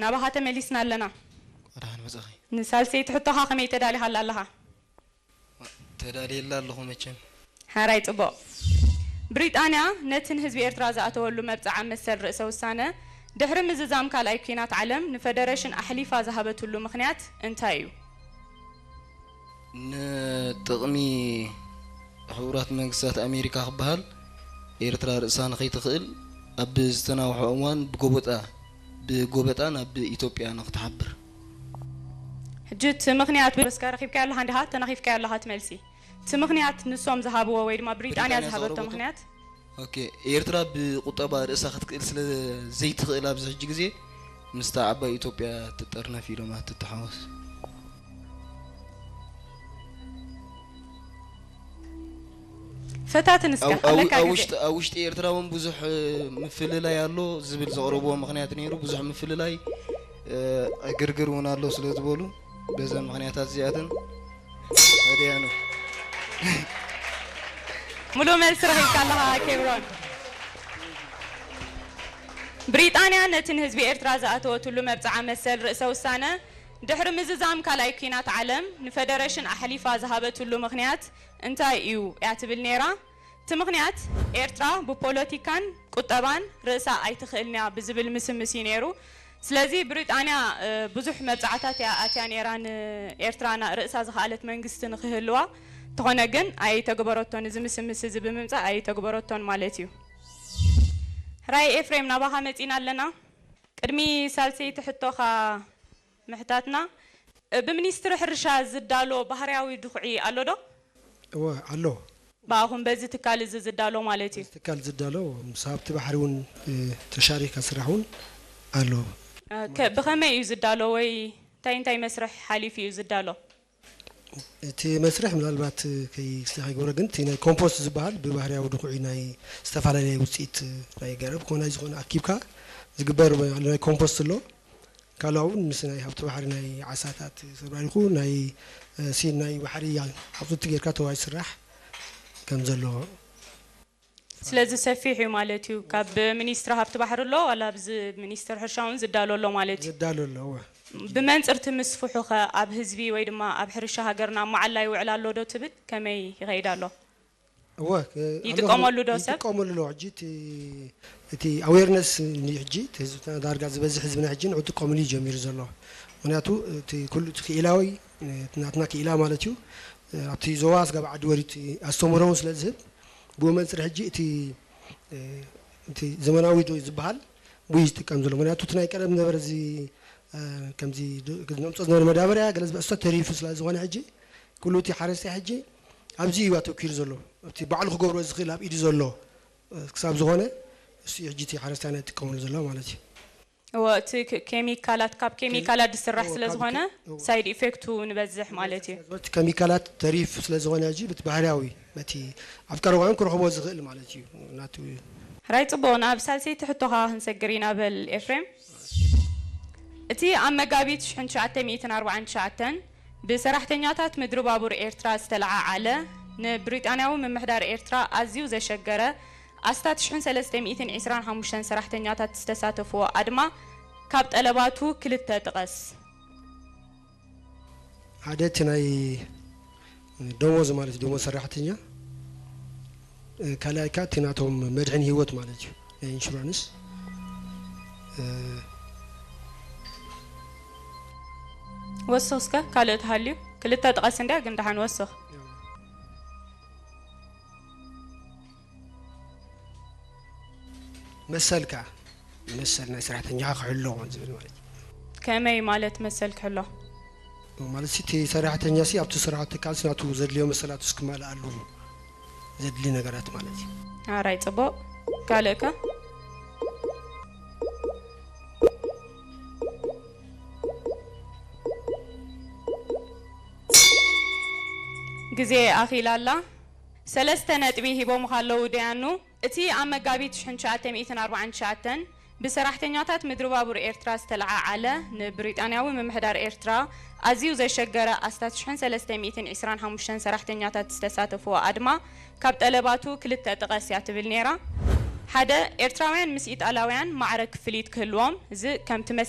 ናባኻ ተመሊስና ኣለና። ደሓን መጻኺ። ንሳልሰይቲ ሕቶኻ ከመይ ተዳሊኻላ ኣለኻ? ተዳልየላ ኣለኹ መቸም። ሓራይ ጽቡቕ። ብሪጣንያ ነቲ ንህዝቢ ኤርትራ ዝኣተወሉ መብጽዓ መሰል ርእሰ ውሳነ ድሕሪ ምዝዛም ካልኣይ ኲናት ዓለም ንፈደረሽን ኣሕሊፋ ዝሃበትሉ ምኽንያት እንታይ እዩ? ንጥቕሚ ሕቡራት መንግስታት ኣሜሪካ ክበሃል ኤርትራ ርእሳ ንኸይትኽእል ኣብ ዝተናውሐ እዋን ብጎበጣ ብጎበጣ ናብ ኢትዮጵያ ንክትሓብር። ሕጂ እቲ ምኽንያት ብስካ ረኺብካዮ ኣለኻ እንዲኻ? ተናኺፍካዮ ኣለኻ እቲ መልሲ። እቲ ምኽንያት ንሶም ዝሃብዎ ወይ ድማ ብሪጣንያ ብሪጣንያ ዝሃበቶ ዘቕረበቶ? ምኽንያት? ኦኬ፣ ኤርትራ ብቁጠባ ርእሳ ክትክእል ስለ ዘይትኽእል ኣብዚ ሕጂ ግዜ ምስታ ዓባይ ኢትዮጵያ ትጠርነፍ ኢሎም ኣትተሓወስ። ፈታትን እስከ ኣብ- ኣብ- ኣለካ ኣብ ግዜ። ውሽጢ- ኣብ ውሽጢ ኤርትራ እውን ብዙሕ እ፣ ምፍልላይ ኣሎ ዝብል ዘቕረብዎ ምኽንያት ነይሩ። ብዙሕ ምፍልላይ እ፣ ዕግርግር እውን ኣሎ ስለ ዝበሉ በዘን ምኽንያታት እዚኣተን ኣደያኑ። ሙሉእ መልሲ ረኺብካ ኣለኻ ኬብሮን። ብሪጣንያ ነቲ ንህዝቢ ኤርትራ ዝኣተወትሉ መብጽዓ መሰል ርእሰ ውሳነ ድሕሪ ምዝዛም ካልኣይ ኲናት ዓለም ንፈደረሽን ኣሕሊፋ ዝሃበትሉ ምኽንያት እንታይ እዩ እያ ትብል ነይራ። እቲ ምኽንያት ኤርትራ ብፖለቲካን ቁጠባን ርእሳ ኣይትኽእልንያ ብዝብል ምስምስ እዩ ነይሩ። ስለዚ ብሪጣንያ እ፣ ብዙሕ መብጻዕታት እያ ኣትያ ነይራ ንኤርትራ ና- ርእሳ ዝኸኣለት መንግስቲ ንክህልዋ። እንተኾነ ግን ኣይተግበረቶን፣ እዚ ምስምስ እዚ ብምምጻእ ኣይተግበረቶን ማለት እዩ። ሕራይ ኤፍሬም ናባኻ መጺና ኣለና። ቅድሚ ሳልሰይቲ ሕቶኻ ምሕታትና እ፣ ብሚኒስትሪ ሕርሻ ዝዳሎ ባህርያዊ ድኹዒ ኣሎ ዶ? እወ ኣሎ። ብኣኹም በዚ ትካል እዚ ዝዳሎ ማለት እዩ። ትካል ዝዳሎ ምስ ሃብቲ ባሕሪ እውን እ፣ ተሻሪካ ስራሕ እውን ኣሎ። እ፣ ከ- ብኸመይ እዩ ዝዳሎ ወይ እንታይ እንታይ መስርሕ ሓሊፉ እዩ ዝዳሎ? እቲ መስርሕ ምናልባት ከይስተ ከይገብረ ግን እቲ ናይ ኮምፖስት ዝበሃል ብባህርያዊ ድኩዒ ናይ ዝተፈላለየ ውፅኢት ናይ ገረብ ኮነ ዝኾነ ኣኪብካ ዝግበር ናይ ኮምፖስት ኣሎ። ካልእ እውን ምስ ናይ ሃብቲ ባሕሪ ናይ ዓሳታት ተባሪኹ ናይ እ፣ ሲን ናይ ባሕሪ ሓፁቲ ጌርካ ተዋይ ስራሕ ከም ዘሎ ስለዚ ሰፊሕ እዩ ማለት እዩ። ካብ ሚኒስትሪ ሃብቲ ባሕሪ ኣሎ ዋላ ኣብዚ ሚኒስትሪ ሕርሻ እውን ዝዳሎ ኣሎ ማለት እዩ። ዝዳሎ ኣሎ። እወ። ብመንፅር እቲ ምስፍሑ ኸ ኣብ ህዝቢ ወይ ድማ ኣብ ሕርሻ ሃገርና ኣብ መዓላ ይውዕል ኣሎ ዶ ትብል? ከመይ ይኸይድ ኣሎ? እወ እ፣ ኣሎ ይጥቀመሉ ዶ ሰብ? ይጥቀመሉ ኣሎ። ሕጂ እቲ እቲ ኣዌርነስ ሕጂ እቲ ህዝብና ዳርጋ ዝበዝሕ ህዝብና ሕጂ ንዕኡ ጥቀምሉ እዩ ጀሚሩ ዘሎ። ምክንያቱ እቲ ኩሉ እቲ ክኢላዊ እቲ ናትና ክኢላ ማለት እዩ ኣብቲ ዞባ ስጋብ ዓዲ ወሪድ ኣስተምህሮ እውን ስለ ዝህብ ብኡ መንፅር ሕጂ እቲ እቲ ዘመናዊ ዶ ዝበሃል ብኡ እዩ ዝጥቀም ዘሎ። ምክንያቱ እቲ ናይ ቀደም ነበረ እዚ ከምዚ ነምፆ ዝነበረ መዳበርያ ገለ ዝበእሶ ተሪፉ ስለ ዝኾነ ሕጂ ኩሉ እቲ ሓረስታይ ሕጂ ኣብዚ እዩ ኣተኪሩ ዘሎ። እቲ ባዕሉ ክገብሮ ዝኽእል ኣብ ኢዱ ዘሎ ክሳብ ዝኾነ እሱ እዩ ሕጂ እቲ ሓረስታይና ይጥቀመሉ ዘሎ ማለት እዩ። እወ እቲ ክ- ኬሚካላት ካብ ኬሚካላት ዝስራሕ እወ፣ ስለ ካብ ዝኾነ ኬ- እወ። ሳይድ ኢፌክቱ ንበዝሕ ማለት እዩ። እቲ ኬሚካላት ተሪፍ ስለ ዝኾነ ሕጂ በቲ ባህርያዊ በቲ ኣብ ቀረባ እዋን ክረኽቦ ዝኽእል ማለት እዩ ናቱ እዩ። ሕራይ ጽቡቕ ናብ ሳልሰይቲ ሕቶኻ ክንሰግር ኢና በል ኤፍሬም። እቲ ኣብ መጋቢት ሽሕን ትሽዓተ ሚእትን ኣርባዓን ትሽዓተን ብሰራሕተኛታት ምድሪ ባቡር ኤርትራ ዝተለዓዓለ ንብሪጣንያዊ ምምሕዳር ኤርትራ ኣዝዩ ዘሸገረ ኣስታት ሽሕን ሰለስተ ሚእትን ዕስራን ሓሙሽተን ሰራሕተኛታት ዝተሳተፍዎ ኣድማ ካብ ጠለባቱ ክልተ ጥቀስ። ሓደ እቲ ናይ ደሞዝ ማለት ደሞዝ ሰራሕተኛ ካልኣይ ካ እቲ ናቶም መድሕን ህይወት ማለት እዩ ናይ ኢንሹራንስ ወስኽ እስከ ካልእ ተሃልዩ ክልተ ጥቀስ እንድያ ግን ደሓን ወስኽ። መሰል ከኣ መሰል ናይ ሰራሕተኛኻ ክሕሎ ዝብል ማለት እዩ። ከመይ ማለት መሰል ክሕሎ? ማለት እቲ ሰራሕተኛ ሲ ኣብቲ ስራሕ ትካል ናቱ ዘድልዮ መሰላቱ እስክማልኣሉ ዘድሊ ነገራት ማለት እዩ። ኣራይ ጽቡቕ። ካልእ ከ? ግዜ ኣኺላ ኣላ። ሰለስተ ነጥቢ ሂቦምኻ ኣለዉ ደያኑ። እቲ ኣብ መጋቢት ሽሕን ትሽዓተ ሚእትን ኣርባዓን ትሽዓተን ብሰራሕተኛታት ምድሪ ባቡር ኤርትራ ዝተለዓዓለ ንብሪጣንያዊ ምምሕዳር ኤርትራ ኣዝዩ ዘሸገረ ኣስታት ሽሕን ሰለስተ ሚእትን ዕስራን ሓሙሽተን ሰራሕተኛታት ዝተሳተፍዎ ኣድማ ካብ ጠለባቱ ክልተ ጥቀስ እያ ትብል ነይራ። ሓደ፣ ኤርትራውያን ምስ ኢጣላውያን ማዕረ ክፍሊት ክህልዎም፣ እዚ ከምቲ መሰል